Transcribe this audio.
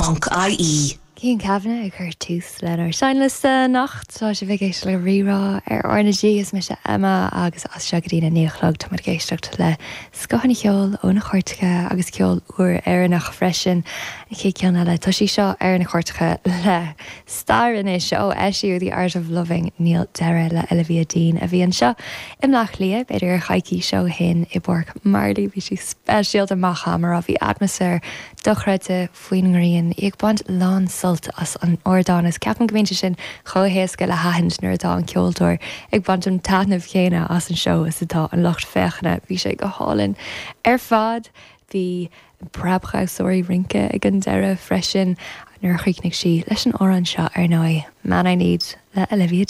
RnaG.ie. Cian Kavanagh ag cur tús lenár seinnliosta anocht. Tá sibh ag éisteacht le Rí-Rá ar RnaG. Is mise Emma agus as seo go dtí na 9 a chlog táimid ag éisteacht le scoth an cheoil ó na cairteacha agus ceol úr Éireannach freisin. An chéad cheann eile, tá sí seo ar na cairteacha le stair anois ó eisíodh The Art of Loving níl deireadh le Olivia Dean a bhí anseo i mBleá Cliath b'fhéidir coicís ó shin i bPáirc Marley. Bhí sí speisialta amach mar bhí atmaisféar dochreidte faoin ngrian, í ag baint lán sult as an ardán agus ceapaim go mbíonn sé sin chomh héasca le haithint nuair atá an ceoltóir ag baint an taitneamh chéanna as an seó is atá an lucht féachana. Bhí sé go hálainn ar fad. Bhí preabdhamhsóirí rince ag an deireadh freisin nuair a chríochnaigh sí leis an amhrán seo ar ndóigh, Man I Need le Olivia.